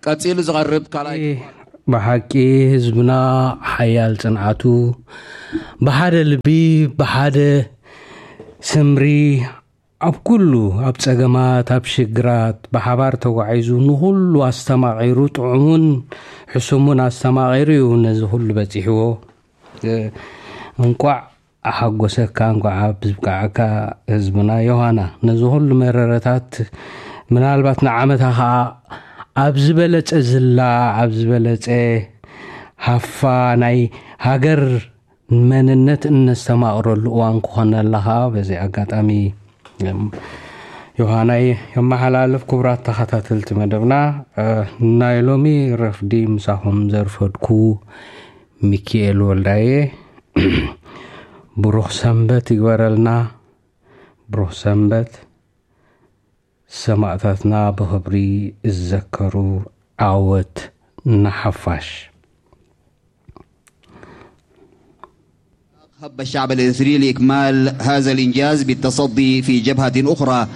ቀጺሉ ዝቐርብ ካልኣይ ብሓቂ ህዝብና ሓያል ጽንዓቱ ብሓደ ልቢ ብሓደ ስምሪ ኣብ ኩሉ ኣብ ጸገማት ኣብ ሽግራት ብሓባር ተጓዒዙ ንኹሉ ኣስተማቒሩ ጥዑሙን ሕሱሙን ኣስተማቒሩ እዩ ነዚ ኩሉ በጺሕዎ። እንቋዕ ኣሓጎሰካ እንቋዕ ኣብ ዝብቃዓካ ህዝብና ዮሃና። ነዚ ኩሉ መረረታት ምናልባት ንዓመታ ከዓ ኣብ ዝበለጸ ዝላ ኣብ ዝበለጸ ሃፋ ናይ ሃገር መንነት እነስተማቕረሉ እዋን ክኾነላ ከዓ በዚ ኣጋጣሚ ዮሃናይ የመሓላልፍ። ክቡራት ተኸታተልቲ መደብና፣ ናይ ሎሚ ረፍዲ ምሳኹም ዘርፈድኩ ሚኪኤል ወልዳየ። ብሩኽ ሰንበት ይግበረልና። ብሩኽ ሰንበት። ሰማእታትና ብኽብሪ ዝዘከሩ፣ ዓወት ንሓፋሽ። هب الشعب الإريتري لإكمال هذا الإنجاز بالتصدي في جبهة أخرى.